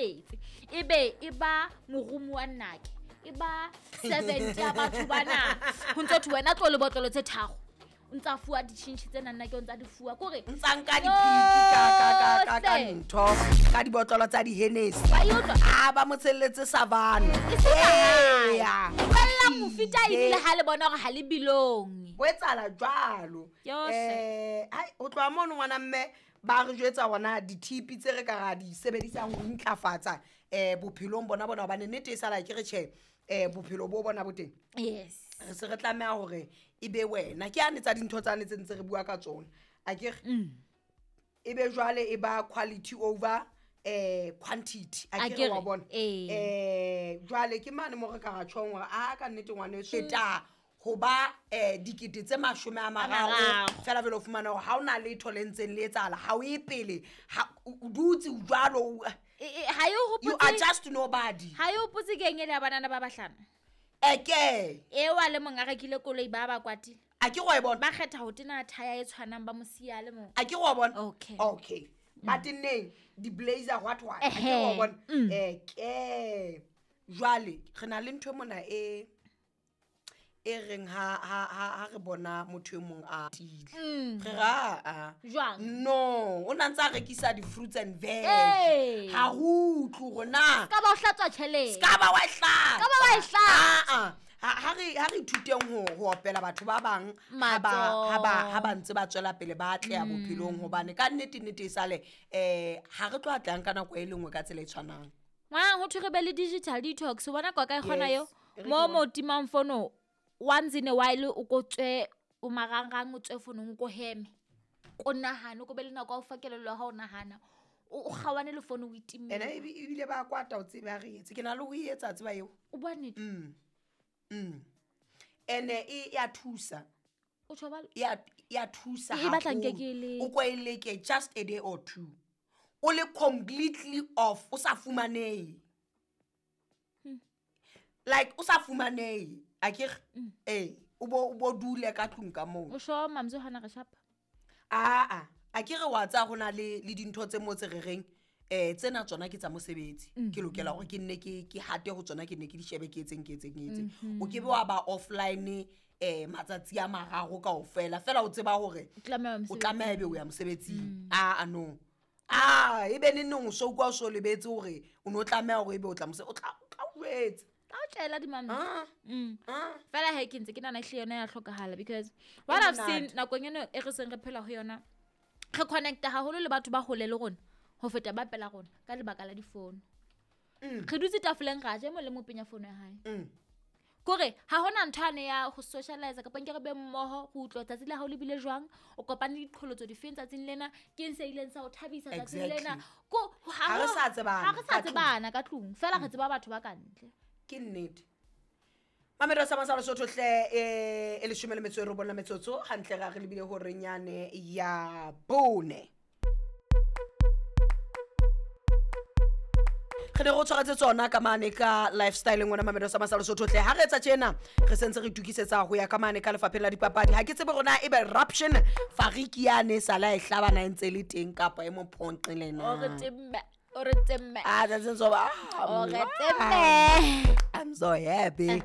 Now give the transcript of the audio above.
sebetse ebe e ba morumo wa nnake e ba servant ya batho bana ho ntse thwe wena tlo le botlolo tse tharo o ntsa fuwa ditšhintšhi tse nna ke o ntsa di fuwa kore ntsa nka dipiki ka ntho ka dibotlolo tsa di-Hennessy Wa e utlwa? a ba mo tshelletse savana Eya. Tlohella mofita ebile ha le bona hore ha le belong. Ho etsahala jwalo. Yohle. Ai ho tloha mono ngwana mme ba re jwetsa hona dithipi tse re ka ra di sebedisang ho ntlafatsa bophelong bona bona hobane nnete e sala ke re tjhe bophelo bo bona bo teng. Yes. Re se re tlameha hore e be wena ke ane tsa dintho tsane tse ntse re bua ka tsona. A ke re e be jwale e ba quality over quantity. A A ke ke re wa re, bona. ee. Jwale ke mane mo re ka ra tjhong hore a ka nnete ngwaneso feta ho ba dikete tse mashome a mararo. Mararo. Fela jwale o fumana hore ha o na letho le ntseng le etsahala, ha o ye pele, ha o dutse o jwalo, o Ha e You hopotse are just nobody. Ha e hopotse keng ele ya banana ba bahlano? Eke. Eo a le mong a rekile koloi ba ba kwatile. A ke go e bona. Ba kgetha ho tena thaya e tshwanang ba mo siya le mong. A ke go bona. Okay. Okay. Ba tenneng di blazer what what. A ke go Ehe. bona. Eke. Jwale re na le ntho mona e e reng ha re bona motho e mong a tile. Re ra a. Jwang? No, o na ntse a rekisa di fruits and veg. Ee. Ha ho utlwe hore na. Ska ba o hlatswa tjhelete. Ska ba wa e hlatsa. Ska ba wa e hlatsa. Ah, ah. Ha re ithuteng ho opela batho ba bang Matsoho. ha ba ntse ba tswela pele ba atleha bophelong hobane ka nnete nnete e sale ha re tlo atleha ka nako e le nngwe ka tsela e tshwanang. Ngwana ho thwe re be le digital detox, o bona kwa kae kgona Yes. eo? E re Mo ke mo timang fono once in a while o ko tswe o marangrang o tswe fonong o ko heme. Ko nahane, o ko be le nako ya ho fa kelello ya hao o nahana. O kgawane le fono o itimme. Ena ebile ba kwata o tsebe ha re etse. Ke na le ho e etsa tseba eo. O bua nnete? Ene e ya thusa. O tjho ba E ya thusa E batla nke haholo. ke le O ko e leke just a day or two. O le completely off, o sa fumanehe. Like o sa fumanehe. A ke re? Eh, o bo dule ka tlung ka moo. O sho Mamzo hana re shapa? Ah, ah. A ke re wa tsaya ho na le dintho tse mo tse re reng, tsena tsona ke tsa mosebetsi. Ke lokela hore ke nne ke hate ho tsona, ke nne ke di shebe, ke etseng, ke etseng, ke etseng. O ke be wa ba offline, matsatsi a mararo kaofela. Fela o tseba hore O tlameha ho ya o mosebetsing. tlameha ebe o ya mosebetsing. Ah, ah, no. Ah, ebe neneng o so utlwa o so lebetse hore o no tlameha hore ebe o tla o tla o jwetsa. Tla o tjela di Mamzo. Ah. Ah. Fela he ke ntse ke nahana ehlile yona ya hlokahala because what I've seen monate. nakong eno e re seng re phela ho yona, re connecta haholo le batho ba hole le rona ho feta ba pela rona ka lebaka la difono. Re dutse tafoleng ra ja, e mong le mong o penya fono ya hae. Kore ha hona ntho ane ya ho socialize kapa nke re be mmoho, go utlwa tsatsi la hao le bile jwang, o kopane le diqholotso difeng tsatsing lena, ke eng se ileng sa o thabisa tsatsing lena. Exactly. Ko, Ha re sa tsebana ha re sa ka tlung. tsebana ka tlung, fela re tseba batho ba ka ntle. Ke nnete. Mamedo sa Masalo Sotho hle, e leshome le metso e robong la metsotso, hantle ra re lebile horeng yane ya bone. Re ne re o tshwaretse tsona ka mane ka lifestyle ngwana Mamedo sa Masalo Sotho hle. Ha re etsa tjena, re sentse re itokisetsa ho ya ka mane ka lefapheng la dipapadi. Ha ke tsebe hore na ebe eruption fariki yane e sala e hlabana e ntse le teng kapa e mo phonqile na. O re temme, o re temme. Ah, that's so, O re temme. I'm so happy.